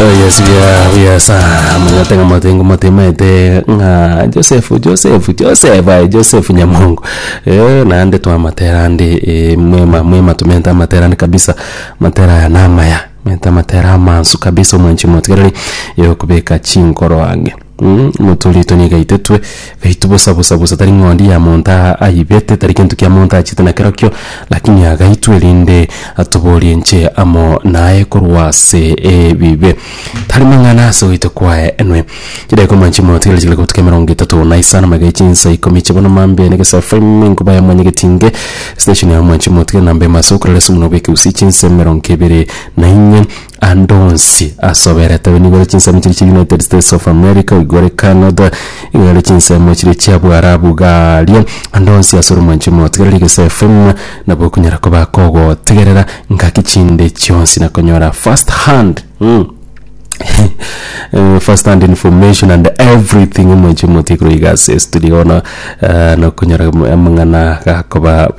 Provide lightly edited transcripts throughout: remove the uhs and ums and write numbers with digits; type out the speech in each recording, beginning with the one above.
Oh, yes, buya buya sana manyete ng'a motengo motimaete ng'a Joseph Joseph Joseph aye Joseph Nyamongo eh, naende twamatera ande eh, mwema mwema tumente amatera ande kabisa amatera aya namaya mente amatera amansu kabisa omwanchi omotigereri yokobeka chinkoro ang'e Omotoori oito nigo aitetwe, gaitwe bosa bosa bosa, tari ng'ondi ya monto aibete, tari gento kia monto achete nakerokio, lakini agaitwe erinde atoboorie inche amo naye korwa ase ebibe. Tari mang'ana ase ogoitwa kwaye enwe. Chidaeka omwanchi omotigereri chigare gotuka 35 magega ye chinsa ikomi chia bono mambia na Egesafu FM enkuba ya mwanyagetinge station ya omwanchi omotigereri namba emo ase okorora ase omonwa bw'ekegusii chinsa 24. Ande onsi ase oberete nigo ore chinsemo chiria chia United States of America, igo ore Canada, igo ore chinsemo chiria chia Bwarabu garia, ande onsi ase ore omwanchi omotigereri gose FM, nabo okonyara koba kogotegerera ngaki chinde chionsi na konyora first hand mm. Eh, first hand information and everything omwanchi omotigereri iga ase estudio bono eh, nokonyora amang'ana gakoba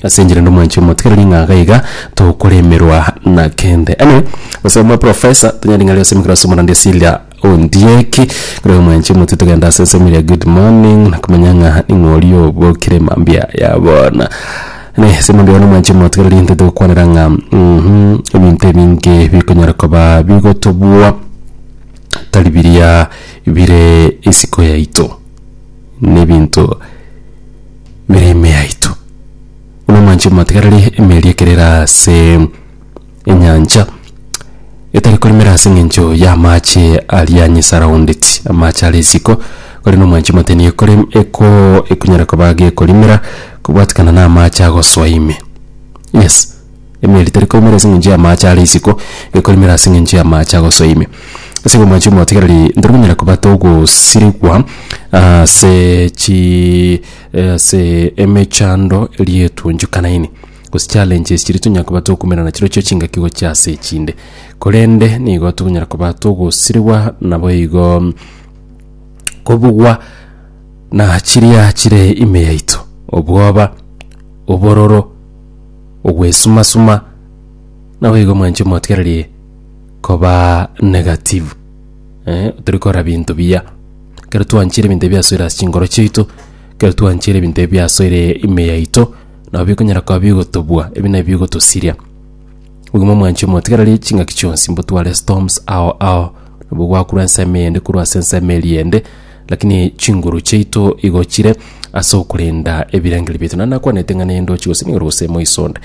Ase enchera ende omwanchi omotigereri ng'a iga iga tokoremerwa na kende. Anyway, gose omwe professor tonyare ng'a ase emekero ase omorandi Celia Ondieki kore omwanchi omotie togende ase ensemo eria good morning na komanya ng'a ning'o oria obokire mambia ya bono. Ne ase mambia bono omwanchi omotigereri intwe togokwanera ng'a mmh ebinto ebinge bikonyara koba bigotobua tari biria bire isiko yaito na ebinto bire ime yaito. Buna omwanchi omotigareri emeeri ekero ere ase enyancha, etari korimera ase eng'encho y'amache aria anyesaraundeti, amache are isiko, korende omwanchi omote nigo ekore eko ekonyara koba gekorimera kobwatikana na amache agosoa ime. Yes, emeeri teri korimera ase eng'encho y'amache are isiko, ekorimera ase eng'encho y'amache agosoa ime. Ase igo omwanchi omotigareri ntori konyara koba togosirigwa ase chi ase emechando eria etunchukanaine, gose challenges chiria tonyara koba tokomerana chirochio chingaki gochia ase echinde. Korende nigo tokonyara koba togosirigwa naboigo kobugwa na chiria chire ime yaito, obwoba, obororo, ogwesuma-suma, naboigo mwanche omotigereri koba negative eh, tori korora binto biya. Ekero twanchire ebinto ebi biasoire ase chinkoro chiaito, ekero twanchire ebinto ebi biasoire ime yaito, nabo bikonyara koba bigotobua, ebi nabio bigotosiria. Obogima omwanchi omotigereri chingaki chionsi mbotware storms ao ao, nabo gwakurwa ensemo eyende korwa ase ensemo eria ende, lakini chinguru chiaito igo chire ase okorenda ebirengererio biaito. Naende nakwanete ng'a nendochi gose nigo gose moiso onde,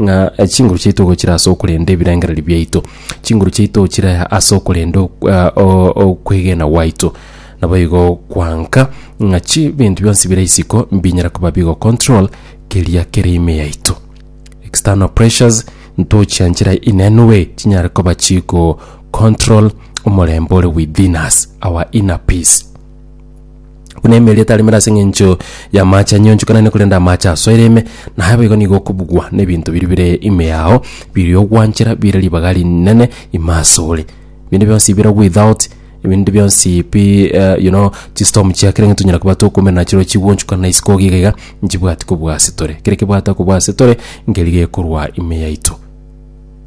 ng'a chinguru chiaito igo chire ase okorenda ebirengererio biaito, chinguru chiaito chire ase okorenda okwegena gwaito. Naboigo kwanka ng'a chibinto bionsi bire isiko mbinyare koba bigo control keria kere ime yaito. External pressures ntochianchera in any way chinyare koba chigo control omorembe ore within us, our inner peace. Buna emeeri etaremire ase eng'encho y'amache anyionchokanane korende amache asoire ime, naye boigo nigo okobugwa n'ebinto biria bire ime yao, biria ogwanchera bire ribaga rinene ime asore. Binde bionsi bire without, ebinde bionsi pi you know, chistorm chia kera eng'encho tonyara koba tokoumera nachirobwo chigwonchokana isiko iga iga, nchibwati kobua ase tore. Kere kebwate kobua ase tore, nkeri gekorwa ime yaito.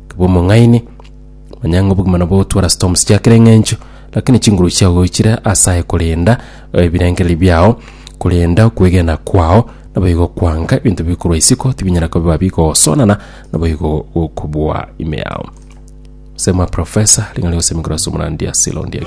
Kebe omong'aini, manya ng'a obogima nabo bogotwara storms chia kera eng'encho, lakini chinguru chiago chire ase aye korenda ebirengererio biao, korenda okwegena kwao, naboigo kwanga ebinto bikorwa isiko tibinyara koba bigosonana, naboigo gokobua ime yao. Sema professor, ring'ana rigosemi korwa ase omorandia Silondia.